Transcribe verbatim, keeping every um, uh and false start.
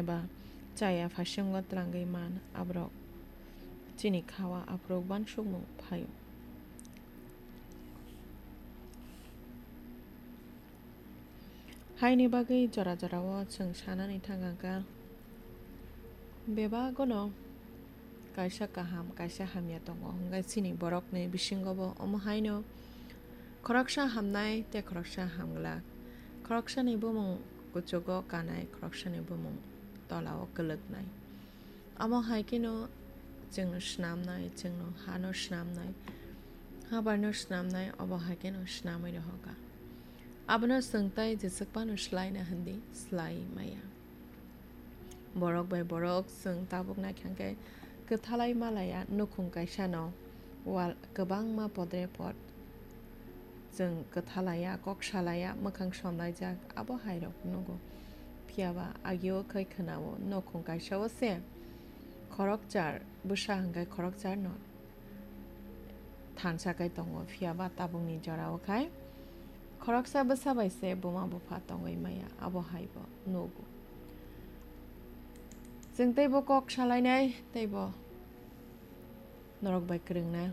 Eba chaya phaisongo twlangwi man aborok chini khawa aphuru uansukmung phaio. Haini bagwi jora jorao chwng sanani thangkha, bebagono kaisa kaham, kaisa hamya tongo, hwnkhe chini borokni bisingobo omo haino khoroksa hamnai tei khoroksa hamglak, khoroksani bumung kuchugo kanai, khoroksani bumung tolao kwlwknai. Amo hai kheno chwngno snamnai, chwngno hano snamnai, habarno snamnai, obo hai kheno snamwi rohorkha. Abono chwng tai jeswk phano swlaina hindi, swlai maya. Borok bai borok chwng tabuk naikha khe kwthalai malaya nukhung kaisano wal kwbangma podre pod. Chwng kwthalaya, kok salaya, mwkhang somlaijak, abo hairok nugo. Phiyaba agio khai khwnao, nukhung kaisao se khorokchar bwsa hwnkhe khorokcharno thansa kai tongo, phiyaba tabukni jorao khai khoroksa bwsa bai se buma bupha tongwi maya, abo haibo nugo. Chwng teibo kok salainai, teibo norok bai kwrwngna